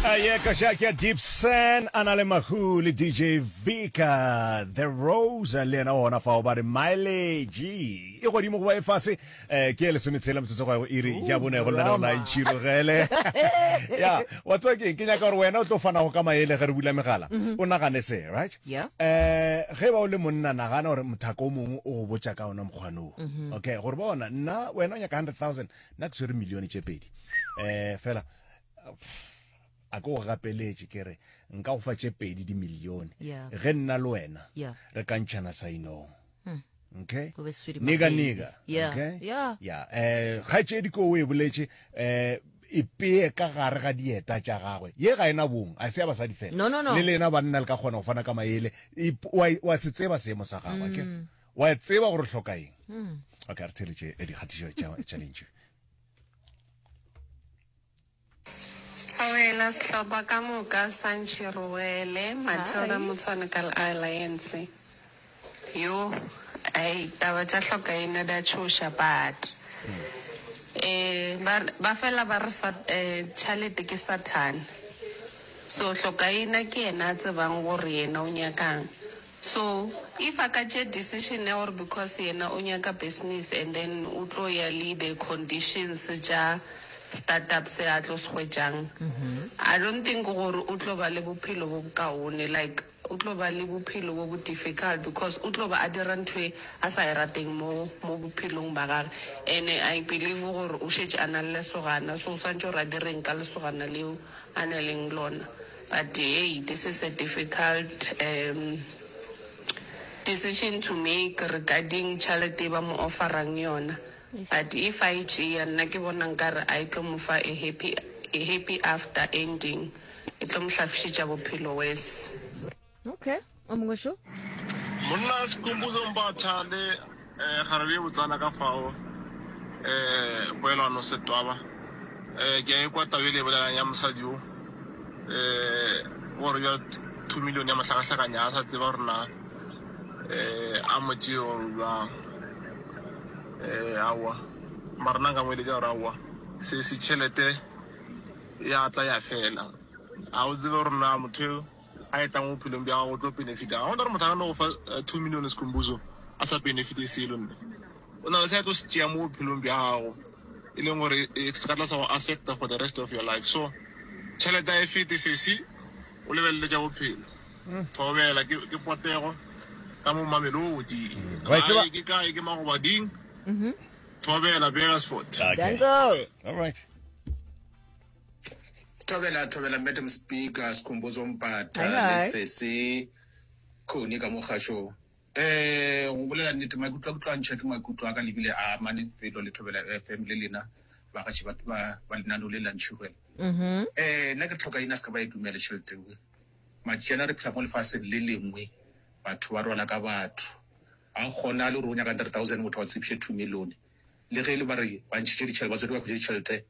Ye koša ke ya Deep Sen a na le Mahu le DJ Vika The Rose le yena gona fao ba re mileage e godimo goba e fase eh, ke e lesometshela metsotso go ya go iri ya bone go lenaneo la Ntšhirogele ya wa tseba ke ke nyaka gore wena o tlo fanago ka maele ge re bula megala o nagane se right Yeah. eh ge ba o le monna nagana gore mothaka o mongwe o go botša ka ona mokgwanoo okay gore bona nna wena o nyaka 100000 nna ke swere milione tše pedi um fela a ke go gapeletše ke re nka go fa tše pedi dimilione Yeah. ge nna le wena Yeah. re ka ntšhana sainong okay Go be sweetie, my nigga baby. nigga Yeah. okay Yeah. ya eh kgaetšedi ko o e boletše eh e peye ka gare ga dieta tša gagwe ye ga ena bong a se ya basadi fela No, no, no. le lena banna le ka kgona go fana ka maele E- wa wa se tseba seemo sa gagwe okay wa tseba gore o hloka eng okay a re theeletše eh, dikgatišo tša tša lentšu Thobela sehlopha ka moka sa Ntšhirogele, Matilda Motshwane ka Alliance. Yoh ai taba tša hlokaina di a tšhoša but eh ba ba fela ba re sa eh tšhalete ke sathane. So hlokaina ke yena a tsebang gore yena o nyakang. So if a ka tšea decision ya gore because yena o nyaka business and then o tlo ya le the conditions tša start up se a tlo se hwetšang, I don't think gore o tlo ba le bophelo bo bokaone, like o tlo ba le bophelo bo bo difficult because o tlo ba a dira ntho e a sa e rateng mo mo bophelong ba gage. And-e I believe gore o šetše a na le lesogana so o swantše gore a direng ka lesogana leo a na leng lona. But hey, this is a difficult um decision to make regarding tšhalete e ba mo offerang yona. But if a e tšea, nna ke bona nkare a e tlo mo fa a happy, a happy after ending. E tlo mo hlafišetša bophelo worse. Okay, o mongwe šo. Monna Skhumbuzo Mbatha le eh, kgarebe ye botsana ka fao eh, Poelano Setwaba eh, ke a ekwa taba e le e bolelang ya mosadi yo eh, gore bja 2 million ya mohlakahlakanya a sa tseba gore na eh, a mo tšee gore bjang eh, aowa mara nna nka mo eletša gore aowa se se tšhelete ya tla ya fela a o tsebe gore na motho yo a etang mo bophelong bja gago o tlo benefita. Ga gona gore motho a ka no go fa 2 million Skhumbuzo a sa benefite selo nne. O na le se a tlo se tšea mo bophelong bja gago e leng gore e se ka tla sa go affecta for the rest of your life. So tšhelete a e fete sesi, o lebelele tša bophelo. Thobela ke ke potego ka mo Mamelodi. Wa e tseba? Gae ke kae ke Magobading. Thobela Beresford. Okay. Danko. All right. Thobela thobela Madam Speaker Skhumbuzo Mpatha Hi, le hi. sesi Khoni ka mo kgašong. Eh go bolela nnete maikutlo a ke tlo a ntšha ke maikutlo a ka lebile a amane felo le Thobela FM le lena bagaši ba ba ba lenaneo le la Ntšhirwela. Eh nna ke tlhoka ina se ka ba e dumela tšhelete ewe. Matšiana re phela mo lefaseng le lengwe batho ba rwala ka batho. Ga go kgonagale gore o nyaka 3000 motho a go tshepiše 2 million. Le ge e le ba re ba ntšhitše ditšhelete, batswadi ba hwetše ditšhelete,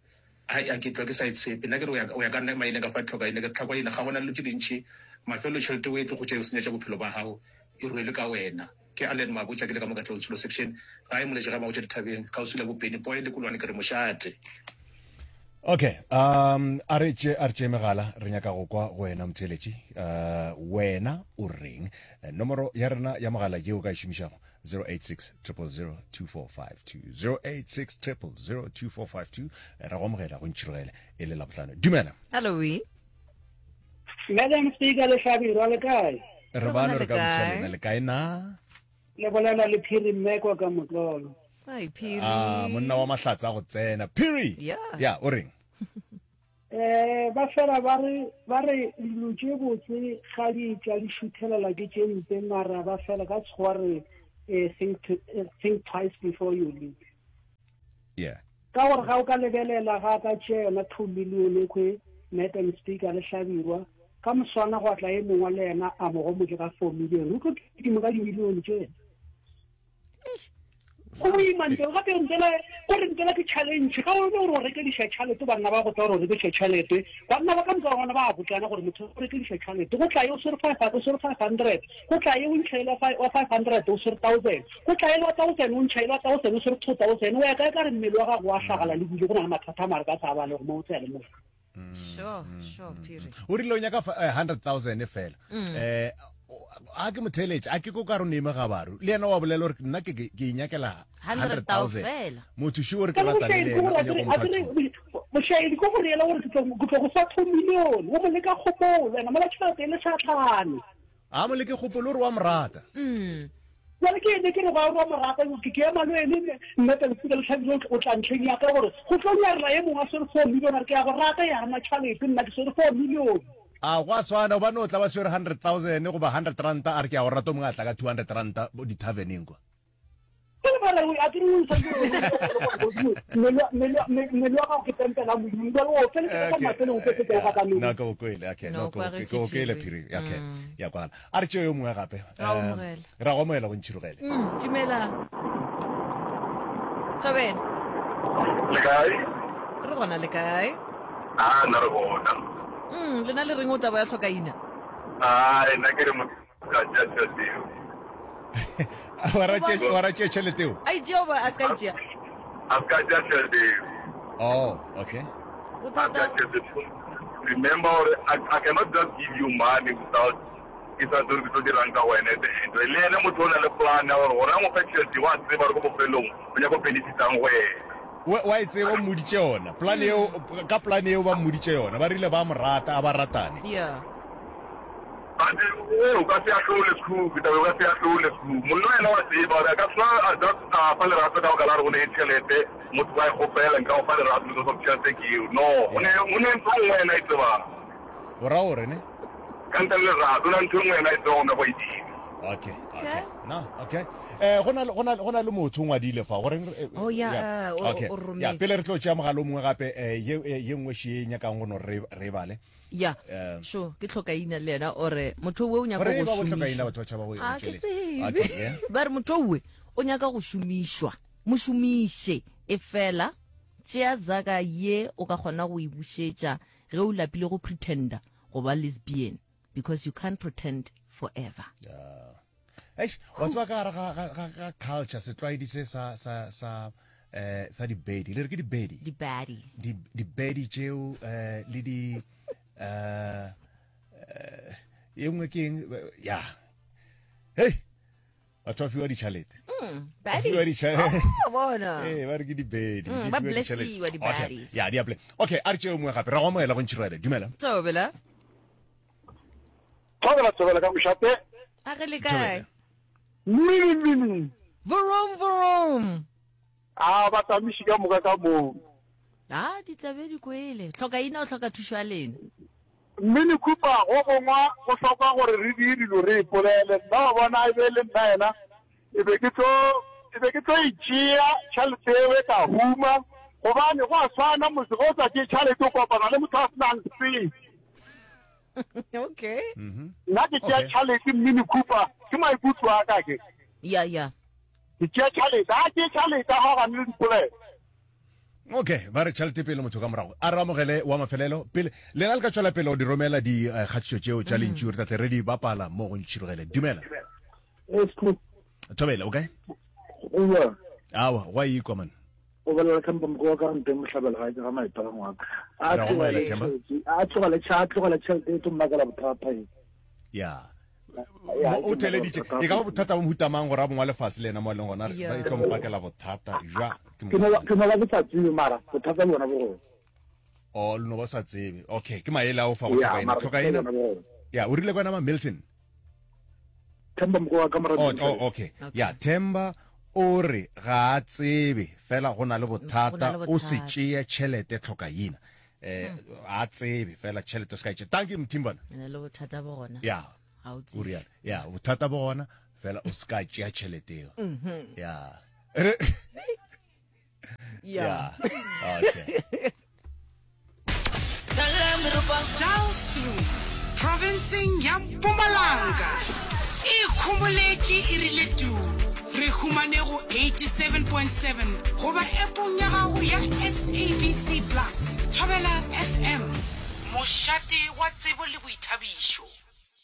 ai, a ke tšwa ke sa e tshepe. Nna ke re, go ya ka nna maina ka fa tlhoka ene, ke re tlhakwa ena, ga gona dilo tše dintši. Mafelelo tšhelete o e tlo go tšea e go senyetša bophelo ba gago, e rwelwe ka wena. Ke Allen Mabotja ke le ka mo Katlehong Tsholo Section, gae Moletše ga Mabotja Dithabeng, kgauswi le Bopeni, Poe le Kolwane ke re mošate. Okay, um a re tše a re tše megala re nyaka go kwa go wena motheeletši uh, wena o reng nomoro ya rena ya mogala yeo o ka e šomišago 086 000 2452 086 000 2452 re go amogela go ntšhirogele e le labohlano dumela Hello. we. Madam Speaker le Hlabirwa le kae? re bano re ka botša kae? lena le kae na Le bolela le Phiri Mmekwa ka motlolo. Hi Phiri. ah monna wa mahlatsa a go tsena phiri Yeah. ya o reng Eh ba fela ba re ba re dilo tše botse ga di tla di šuthelela ke tše mpe mara ba fela ka tshwa re eh, think, to, eh, think twice before you leave. yeah Ka gore ga o ka lebelela ga ka tšea yona 2 million e kwe Madam Speaker le Hlabirwa ka moswana gwa tla e mongwe le yena a mo gomotše ka 4 million o tlo kitima ka dimilione tše Go boima ntle gape ntela gore ntela ke challenge ga o gore o rekediša tšhalete banna ba go tla gore o rekediša tšhalete banna ba ka moka gona ba botsana gore motho o rekediša tšhalete go tla ye o swere five o swere 500 go tla ye o ntšha wa 500 o swere 1000 go tla ye wa 1000 o ntšha wa 1000 o swere 2000 o ya kae ka re mmele wa gago wa hlagala le bile go na le mathata a mare ka sa ba le go mo o tsaya le mo. Sure, sure, Phiri. O rile o nyaka 100,000 fela. Eh a ke motheletše, a ke ko ka re o neime gabaru. Le yena wa bolela gore nna ke ke inyakela 100,000 100,000. fela. Motho šo o re ke ratane le yena, o nyaka go mo fa two. Mošaedi ko go reela gore ke tlo ke tlo go fa 2 million, o mo leka kgopolo, ena mola tšhelete e le satlhane. A mo leke kgopolo, o re wa mo rata. Jwale ke ene ke re ba wa mo rata, ke ke ema le ene nna ka lefika le tlhabile o tla ntlheng ya ka gore go tlo nyarela e mongwe a swere 4 million a re ke ya go rata ya gana tšhalete nna ke swere 4 million. A go a swana gobane o tla ba swere 100,000 goba 100 ranta a re ke ya go rata o mongwe a tla ka 200 ranta di-taverneng kwa. Ke lebala o a ke re o santse mmele wa gago ke tempela Modimo jwale o feletsa ka mafelong o fetsa o gata No ke o kwele okay no ke o kwele phiri okay ya kwala a re tšeo yo mongwe gape Ra o amogela. ra go amogela go ntšhirogele Dumela Thobela Le kae? Re gona le kae? A nna re gona. Lena le reng o taba ya tlhokaina? A nna ke re motho Ka tšea tšhelete eo. Wa ra tšea wa ra tšea tšhelete eo? A e tšea goba a se ka e tšea? A se ka tšea tšhelete eo. Oh, okay. A se ka tšhelete. Remember gore I, I cannot just give you money without ke sa tsebe ke tlo dirang ka wena at the end. Le yena motho o na le plan ya gore gore a mo fe tšhelete wa tseba gore ko bofelong o nyaka go benefitang go yena. Wa wa e tseba o mmoditše yona. Plan eo ka plan eo ba mmoditše yona. Ba rile ba mo rata a ba ratane. Yeah. But eh, o ka se ahlole Skhukhu, taba o ka se ahlole Skhukhu. Monna yena wa tseba gore a ka swa a just a fa lerato ka baka la gore o ne tšhelete, motho wa e kgopela nka go fa lerato because of tšhelete ke eo. No, o ne o ne ntho nngwe yena e tsebang. O ra gore ne? Ka ntle le lerato, o na ntho nngwe yena e tsebang o nyaka go e dira. Okay, okay. No, okay. Eh go na go na go na le motho o ngwadile fa gore Oh yeah, eh, o okay. o rometse. Ya, pele re tlo tšea mogala o mongwe gape eh ye ye nngwe še e nyakang go no re re bale. Ya, sure, ke tlhokaina le yena ore motho owe o nyaka Gore go e ba botlhokaina šomišwa. batho ba tšhaba go A ke tšhelete. tsebe. Okay, yeah. Ba re motho owe o nyaka go šomišwa, mo šomiše. E fela tšea zaka ye o ka kgona go e bušetša ge o lapile go pretender go ba lesbian because you can't pretend forever. Yeah. Eish, wa tseba ka gare ga, ga, ga, ga culture setlwaedi se sa sa sa eh sa dibedi le re ke dibedi Dibadi. di dibedi tšeo eh le di eh eh, ye nngwe ke eng ya hei batho ba fiwa ditšhalete Ba fiwa Baddies. ditšhalete Oh, bona. ee ba re ke dibedi Mm, di ba fiwa ditšhelete. blessiwa Okay, di-baddies. ya di a play okay a re tšeo mongwe gape ra go amogela go ntšhirele dumela Thobela. Thobela thobela ka mošate. A ge le kae? Mmini mmini. Vroom vroom. A batamiši ka moka ka moo. A ditsabe di kwele. Hloka ina o hloka thušo ya lena. Mmini Khupa go gongwa go hloka gore re die dilo re ipolele. Nna wa bona e be e le nna yena e be ke tlo e be ke tlo e tšea tšhelete eo e ka huma gobane go a swana motse ge o sa tšee tšhelete o kopana le motho a se nang selo. okay mm-hmm. nna ke tšea tšhalete mmini khupa ke maikutlo a ka ke ya ya ke tšea tšhalete a ke tšhalete a gane le dipolelo okay ba re tšhelete pele motho ka morago a re amogele wa mafelelo pele lena le ka tšwela pele go di romela dikgatišo eh, tšeo tša mm. lentšu re tlatle re di bapala mo go ntšhirogele dumela thobele o kae awa wa ikwa man O bolela Themba Moko wa ka nteng mohlabela ga ke ga maipela ngwaka. A Ra go amohela, Themba. a tlogele a tlogele tšhelete e tlo mmakela bothata e. ya Ya, o theleditše e ka ba bothata bo mohuta mang gore a bongwa lefase le yena mo a leng gona Ya. e tlo mpakela bothata jwa ke Ke no ba ke no ba ke sa tsebe mara bothata le bona bo gona. o le no ba sa tsebe okay ke maele a o fa go Ya, tlhokaina mara tlhokaina bothata bona bo gona. ya o rile kwena ma Milton Themba Moko wa ka mora Oh, oh, okay. Ya, Themba o re ga a tsebe fela go na le bothata o se tšeye tšhelete tlhokaina. Eh, a tsebe fela tšhelete o se ka e tšea. Thank you Mthimbana. Na le bothata bo gona. Ya. Ga o tsebe. O rialo. Ya, bothata bo gona fela o se ka tšea tšhelete eo. Ya. Re Yeah. Okay. Dullstroom, profenseng ya Mpumalanga, e ikhomoletše e rile tuu. Re humane go 87.7 goba appong ya gago ya SABC Plus. Thobela FM, mošate wa tsebo le boithabišo.